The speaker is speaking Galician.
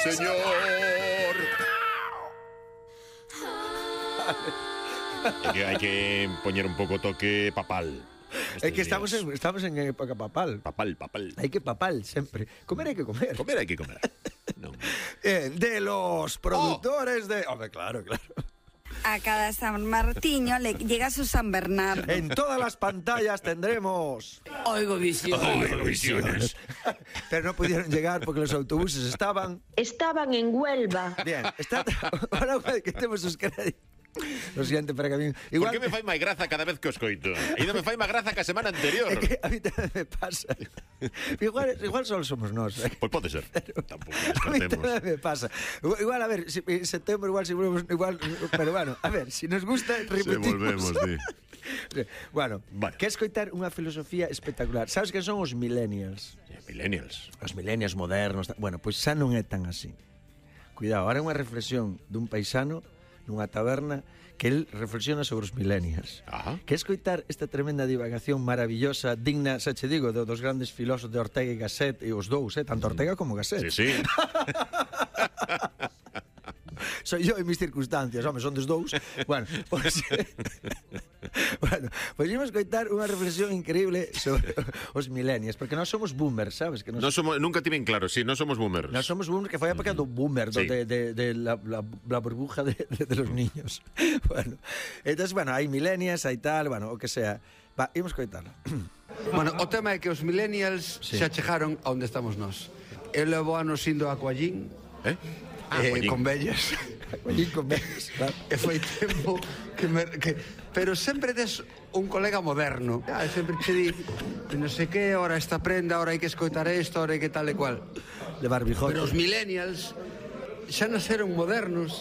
señor. Hai que poñer un pouco toque papal. É que estamos en época papal. Papal. Hai que papal sempre. Comer hai que comer. Comer hai que comer. Non. De los productores de... Hombre, claro. A cada San Martiño le llega su San Bernardo. En todas las pantallas tendremos... Oigo visiones. Pero no pudieron llegar porque los autobuses estaban... Estaban en Huelva. Bien, ahora que temos os créditos. Lo siento, pero que a mí... Igual... Por que me fai máis graza cada vez que os coito? Ainda me fai máis graza que a semana anterior. É que a mí tamén me pasa. Igual solo somos nós. Pois pode ser. Tampouco A mí descartemos. tamén me pasa. Igual, a ver, en setembro igual, pero bueno, a ver, si nos gusta, repetimos. volvemos, sí. Bueno, Vale. que escoitar unha filosofía espectacular. Sabes que son os millennials? Millennials. Os millennials modernos. Bueno, pois xa non é tan así. Cuidado, ahora é unha reflexión dun paisano nunha taberna que el reflexiona sobre os millennials. Ajá. Que escoitar esta tremenda divagación maravillosa, digna, xa che digo, dos grandes filósofos de Ortega e Gasset, e os dous, tanto Ortega como Gasset. Sí. Soy yo e mis circunstancias, home, son dos dous. Bueno, pois imos coitar unha reflexión increíble sobre os millennials, porque nós somos boomers, sabes? Que Nunca tiven claro, sí, non somos boomers. Nós somos boomers, que foi a época do boomer, Sí. de la burbuja de los niños. Bueno, entonces, hai millennials, hai tal, o que sea. Va, imos coitarlo. Bueno, o tema é que os millennials Sí. xa chegaron a onde estamos nós. Eu levo anos indo a Coallín, Coallín. con vellas. Coallín con vellas, claro. E foi tempo pero sempre tes un colega moderno. Sempre che di, non sei que, ahora esta prenda, ahora hai que escoitar isto, ahora hai que tal e cual. De barbijote. Pero os millennials xa nasceron modernos